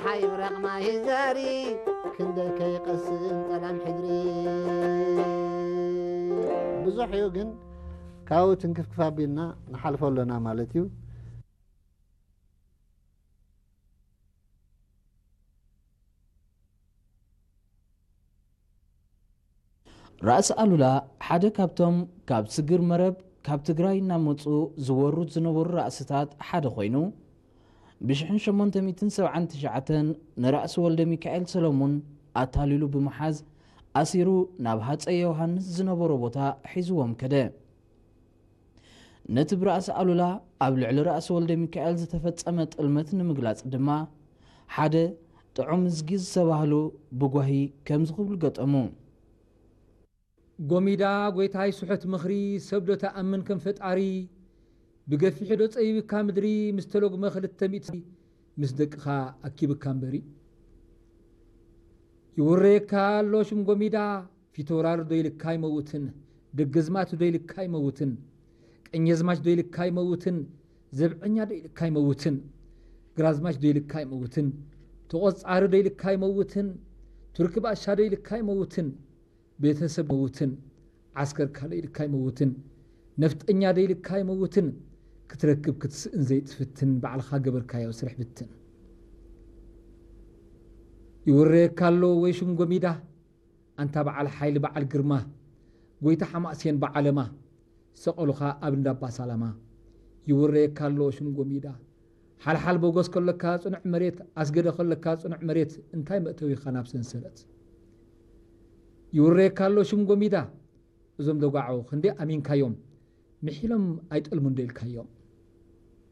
ሓይብረቕ ማሂዛሪ ክንደይ ከይቐስን ጠላም ሕድሪ። ብዙሕ እዩ ግን ካብኡ ትንክፍክፍ ኣቢልና ንሓልፎ ኣለና ማለት እዩ። ራእሲ ኣሉላ ሓደ ካብቶም ካብ ስግር መረብ ካብ ትግራይ እናመፁ ዝወሩት ዝነበሩ ራእስታት ሓደ ኮይኑ፣ ብሽሕን ሸሞንተ ሚእትን ሰብዓን ትሽዓተን ንራእሲ ወልደ ሚካኤል ሰሎሙን ኣታሊሉ ብምሓዝ ኣሲሩ ናብ ሃፀይ ዮሃንስ ዝነበሮ ቦታ ሒዝዎም ከደ። ነቲ ብራእሲ ኣሉላ ኣብ ልዕሊ ራእሲ ወልደ ሚካኤል ዝተፈጸመ ጥልመት ንምግላጽ ድማ ሓደ ጥዑም እዝጊ ዝተባህሉ ብጓሂ ከምዚ ክብሉ ገጠሙ። ጎሚዳ ጎይታይ ስሑት ምኽሪ ሰብ ዶ ተኣምን ከም ፈጣሪ? ብገፊሑ ዶ ጸቢብካ ምድሪ ምስ ተሎግመ ክልተ ሚእቲ ምስ ደቅኻ ኣኪብካ እምበሪ። ይውረየካ ኣሎ ሽም ጎሚዳ፣ ፊተውራሪ ዶ ኢልካ ኣይመውትን፣ ደገዝማት ዶ ኢልካ ኣይመውትን፣ ቀኘዝማች ዶ ኢልካ ኣይመውትን፣ ዘብዐኛ ዶ ኢልካ ኣይመውትን፣ ግራዝማች ዶ ኢልካ ኣይመውትን፣ ተቖጻሪ ዶ ኢልካ ኣይመውትን፣ ቱርኪ ባሻ ዶ ኢልካ ኣይመውትን፣ ቤተሰብ መውትን፣ ዓስከር ካልእ ኢልካ ኣይመውትን፣ ነፍጠኛ ዶ ኢልካ ኣይመውትን፣ ክትረክብ ክትስእን ዘይትፍትን፣ ባዕልኻ ገበርካዮ ስርሕ ብትን። ይውረየካ ኣሎ ወይ ሽም ጎሚዳ፣ ኣንታ በዓል ሓይሊ በዓል ግርማ፣ ጎይታ ሓማሴን በዓለማ፣ ሰቐሉኻ ኣብ እንዳባ ሳላማ። ይውረየካ ኣሎ ሽም ጎሚዳ፣ ሓልሓል ቦጎስ ከለካ ጽኑዕ መሬት፣ ኣስገደ ከለካ ጽኑዕ መሬት፣ እንታይ መእተዊኻ ናብ ሰንሰለት? ይውረየካ ኣሎ ሽም ጎሚዳ፣ እዞም ደጓዖ ክንደይ ኣሚንካዮም፣ ምሒሎም ኣይጠልሙን ዶ ኢልካዮም?